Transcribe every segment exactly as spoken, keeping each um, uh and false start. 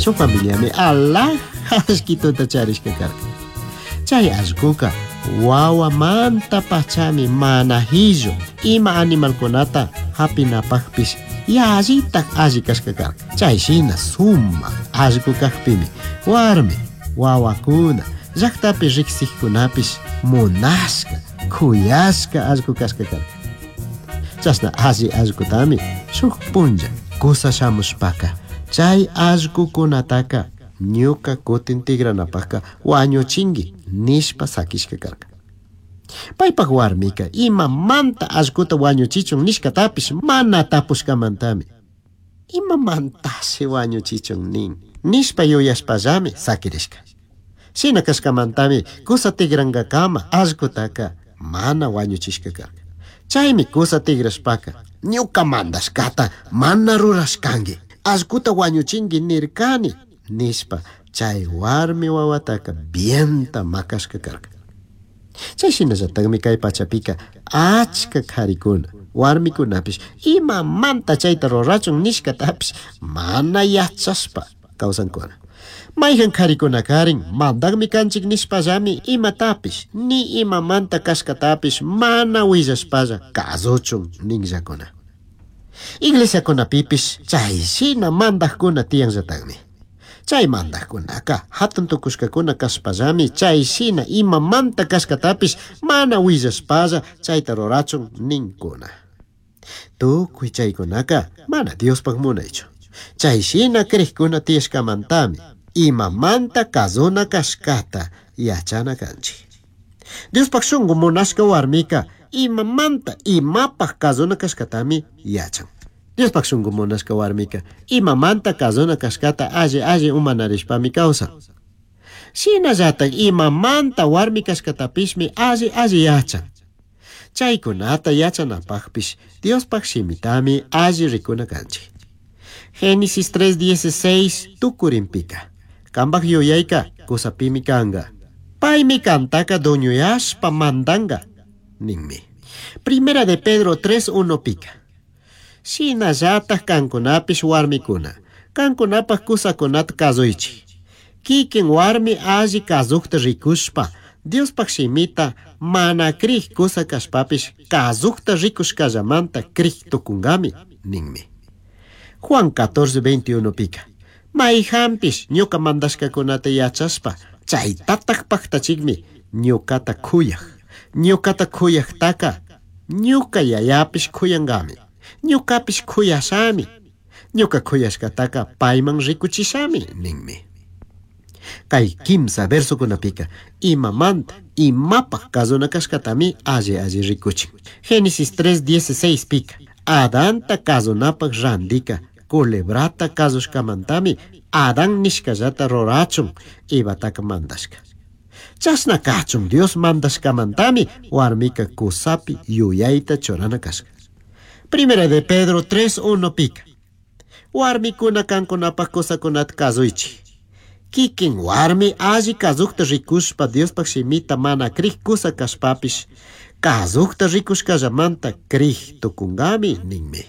Shuk familiami alhaja allquituta charishka karka. Chay allquka wawamanta pachami mana hillu ima animalkunata hapinapaqpish yallitaj alli kashka karka. Chay shina sumaq allqu kaqpimi warmi wawakuna llaqtapi riqsiqkunapish munashka khuyashka allqu kashka karka. Chashna alli allqutami shuk punlla kusa shamushpaka chay allqukunataka ñuka kutin tigranapaqka wañuchinki nishpa sakishka karka. Paypaq warmika imamanta allquta wañuchichun nishkatapish mana tapushkamantami imamantashi wañuchichun nin nishpa yuyashpallami sakirishka. Shina kashkamantami kusa tigrankakama allqutaka mana wañuchishka karka. Chaymi kusa tigrashpaka ñuka mandashkata mana rurashkanki allquta wañuchinki nirkani nishpa chay warmi wawataka bienta makashka karka. Chay shinallataqmi kay pachapika achka qharikuna warmikunapish imamanta chayta rurachun nishkatapish mana yachashpa kawsankuna. Mayqan qharikuna karin mandaqmi kanchik nishpallami imatapish ni imamanta kashkatapish mana willashpalla kasuchun ninllakuna. Iglesiakunapipish chay shina mandaqkuna tiyanllataqmi. Chay mandaqkunaka hatun tukushkakuna kashpallami chay shina imamanta kashkatapish mana willashpalla chayta rurachun ninkuna. Tukuy chaykunaka mana Diospaq munaychu. Chay shina kriqkuna tiyashkamantami imamanta kazuna kashkata yachana kanchik. Diospaq shunqu munashka warmika imamanta imapaq kazuna kashkatami yachan. Diospaq shunqu munashka warmika imamanta kazuna kashkata alli alli umanarishpami kawsan. Shinallataq imamanta warmi kashkatapishmi alli alli yachan. Chaykunata yachanapaqpish Diospaq shimitami alli rikuna kanchik. Génesis tres dieciséis tukurinpika. Kambaq yuyayka kusapimi kanka. Paymi kantaka duñuyashpa mandanka ninmi. Primera de Pedro tres uno pika. Shinallataq kankunapish warmikuna. Kankunapaq kusakunata kasuychik. Kikin warmi alli kasuqta rikushpa Diospaq shimita mana kriq kusa kashpapish kasuqta rikushkallamanta kriq tukunkami ninmi. Juan catorce veintiuno pika. Mayqanpish ñuka mandashkakunata yachashpa chaytataq paqtachikmi ñukata khuyaq. Ñukata khuyaqtaka ñuka yayapish khuyankami. Ñukapish khuyashami. Ñuka khuyashkataka payman rikuchishami ninmi. Kay kimsa versokunapika imamanta imapaq kasuna kashkatami alli alli rikuchin. Génesis tres dieciséis pika. Adanta kasunapaq randika culebrata kasushkamantami Adán nishkallata rurachun Evataka mandashka. Chashna kachun Dios mandashkamantami warmika kusapi yuyayta churana kashka. Primera de Pedro tres uno pika. Warmikuna kankunapaq kusakunata kasuychik. Kikin warmi alli kasuqta rikushpa Diospaq shimita mana kriq kusa kashpapish kasuqta rikushkallamanta kriq tukunkami ninmi.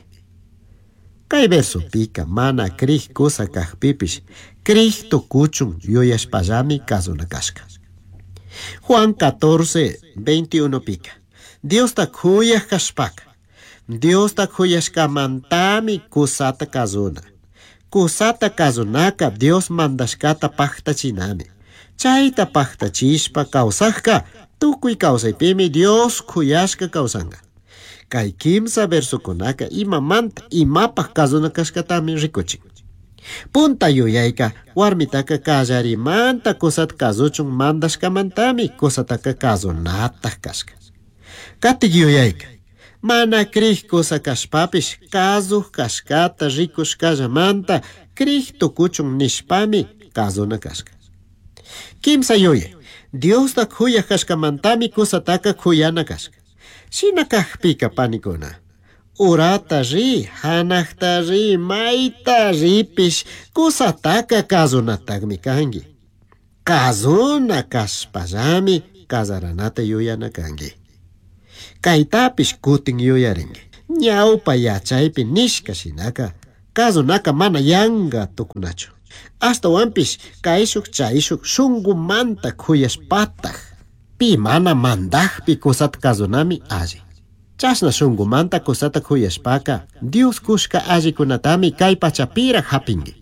Kay versopika mana kriq kusa kaqpipish kriq tukuchun yuyashpallami kasuna kashka. Juan catorce veintiuno pika. Diosta khuyaq kashpaka. Diosta khuyashkamantami kusata kasuna. Kusata kasunaka Dios mandashkata paqtachinami. Chayta paqtachishpa kawsaqka tukuy kawsaypimi Dios khuyashka kawsanka. Kay kimsa versokunaka imamanta imapaq kasuna kashkatami rikuchin. Punta yuyayka warmitaka kallarimanta kusata kasuchun mandashkamantami kusataka kasunataq kashka. Katik yuyayka mana kriq kusa kashpapish kasuq kashkata rikushkallamanta kriq tukuchun nishpami kasuna kashka. Kimsa yuyay Diosta khuyaq kashkamantami kusataka khuyana kashka. Shina kaqpika panikuna. Urata ri, hanaqta ri, mayta ripish kusataka kasunataqmi kanki. Kasuna kashpallami kasaranata yuyana kanki. Kaytapish kutin yuyarinki. Ñawpa yachaypi nishka shinaka kasunaka mana yanka tukunachu. Ashtahuanpish caishuj chaishuj shungumanta cuyashpataj pi mana mandajpi cusata kazunami alli. Chashna shungumanta cusata cuyashpaca Dios cushca allicunatami kay pachapiraj japinki.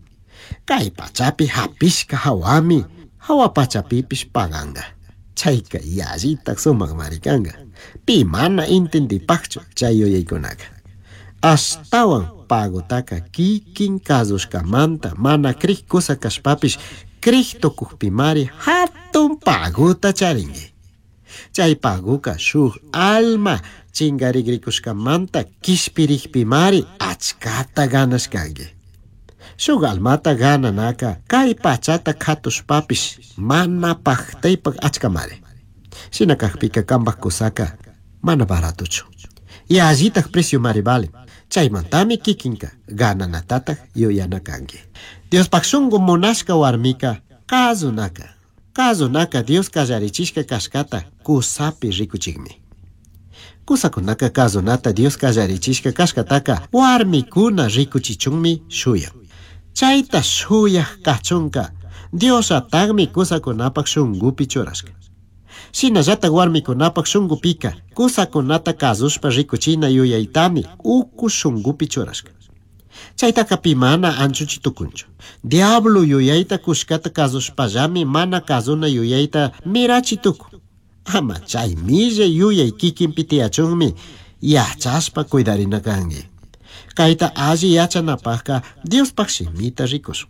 Kay pachapi japishka hawami hawa pachapipish paganga. Chayka yallitaj sumakmari kanka. Pi mana intindipajchu chay yuyaykunaka. Ashtawan pagotaka kikin kazushkamanta mana crij kusa kashpapish crij tukukpimari hatun pagota charinki. Chay paguka shuk alma chingarikushkamanta kishpirikpimari achkata ganashkanki. Shuk almata gananaka kay pachata katushpapish mana pajtaypak achkamari. Shina kakpika kambaj kusaka mana baratochu. Yallitaj precio mari vale. Chaymantami kikinka gananatataj yuyana kanki. Diospaj shungu munashka warmika kazunaka. Kazunaka Dios kallarichishka kashkata kusapi rikuchikmi. Kusakunaka kazunata Dios kallarichishka kashkataka warmikuna rikuchichunmi shuyan. Chayta shuyaj kachunka Diosatagmi kusakunapak shungupi churashka. Shinallatak warmikunapak shungupika kusakunata kazushpa rikuchina yuyaytami uku shungupi churashka. Chaytaka pi mana anchuchi tukunchu. Diablo yuyayta kushkata kazushpallami mana kazuna yuyayta mirachi tukun. Ama chay millay yuyay kikinpi tiyachunmi yachashpa cuidarina kanki. Kayta alli yachanapajka Diospaj shimita rikushun.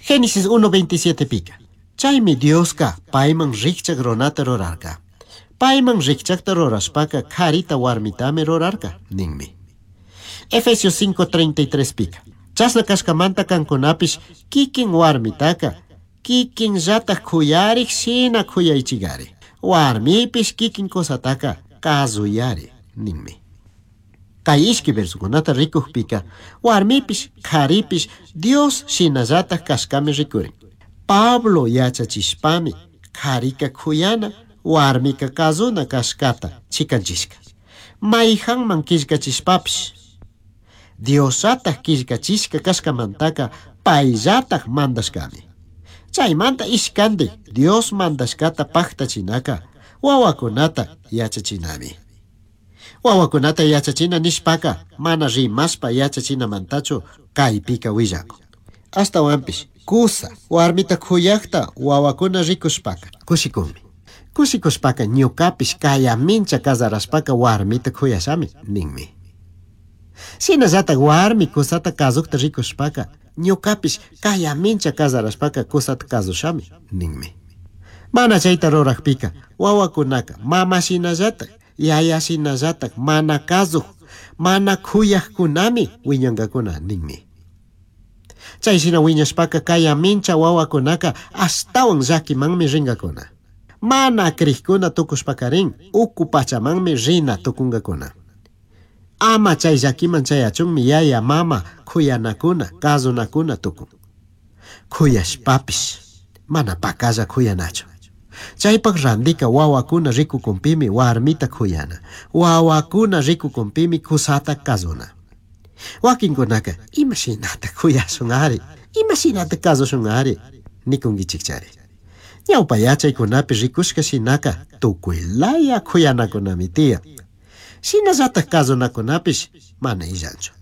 Génesis uno veintisiete pika. Chaymi Dioska payman rikchak runata rurarka. Payman rikchakta rurashpaka karita warmitami rurarka ninmi. Efesios cinco treinta y tres pika. Chashna kashkamanta kankunapish kikin warmitaka kikin llataj kuyarik shina kuyaychigari. Warmipish kikin kusataka kazuyari ninmi. Kay ishki versukunata rikukpika warmipish karipish Dios shinallataj kashkami rikurin. Pablo yachachishpami karika kuyana warmika kazuna kashkata chikanchishka. Mayhanman killkachishpapish Diosataj killkachishka kashkamantaka payllataj mandashkami. Chaymanta ishkandik Dios mandashkata paktachinaka wawakunata yachachinami. Wawakunata yachachina nishpaka mana rimashpa yachachinamantachu kaypika willakun. Ashtawanpish kusa warmita kuyakta wawakuna rikushpaka kushikunmi. Kushikushpaka ñukapish kayamincha kasarashpaka warmita kuyashami ninmi. Shinallatak warmi kusata kazukta rikushpaka ñukapish kayamincha kasarashpaka kusata kazushami ninmi. Mana chayta rurakpika wawakunaka mama shinallatak yaya shinallatak mana kazuj mana kuyajkunami wiñankakuna ninmi. Chay shina wiñashpaka kayamincha wawakunaka ashtawan llakimanmi rinkakuna. Mana krikuna tukushpakarin uku pachamanmi rina tukunkakuna. Ama chay llakiman chayachunmi yaya mama kuyanakuna kazunakuna tukun. Kuyashpapish mana pakalla kuyanachu. Chaypak randika wawakuna rikukunpimi warmita kuyana. Wawakuna rikukunpimi kusata kazuna. Wakinkunaka imashinata kuyashun ari, imashinata kazushun ari, nikunkichikchari. Ñawpa yachaykunapi rikushka shinaka tukuylaya kuyanakunami tiyan. Shinallatak kazunakunapish mana illanchu.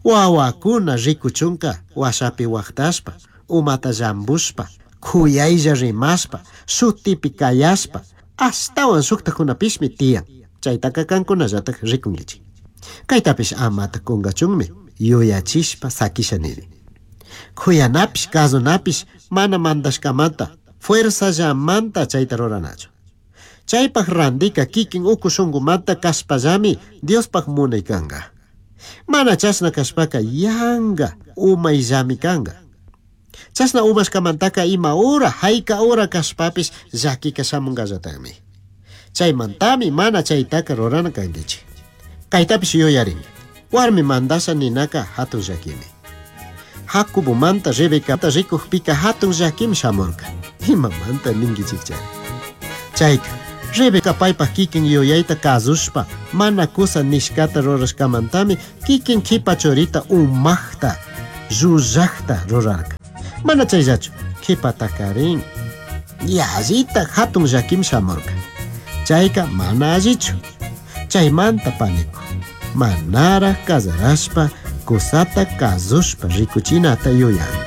Wawakuna rikuchunka washapi waqtashpa, umata llambushpa, kuyaylla rimashpa, shutipi kayashpa, ashtawan shuktakunapishmi tiyan. Chaytaka kankunallatak rikunkichik. Kaytapish amata kunkachunmi yuyachishpa sakisha nini. Kuyanapish kazunapish mana mandashkamanta fuerzallamanta chayta ruranachu. Chaypaj randika kikin uku shungumanta kashpallami Diospaj munay kanka. Mana chashna kashpaka yanga umayllami kanka. Chashna umashkamantaka ima ura hayka ura kashpapish llakika shamunkallatakmi. Chaymantami mana chaytaka rurana kankichik. Kaytapish yuyarinki. Warmi mandasha ninaka hatun llakimi. Jacobomanta Rebecata rikukpika hatun llakimi shamurka. Imamanta ninkichikchari. Chayka Rebeca paypaj kikin yuyayta kazushpa mana kusa nishkata rurashkamantami kikin kipa churita umaqta llullaqta rurarka. Mana chayllachu, qhipatakarin yallita hatun llakim shamurka. Chayka mana allichu. Chaymanta paniku, manaraj casarashpa kusata kasushpa rikuchinata yuyani.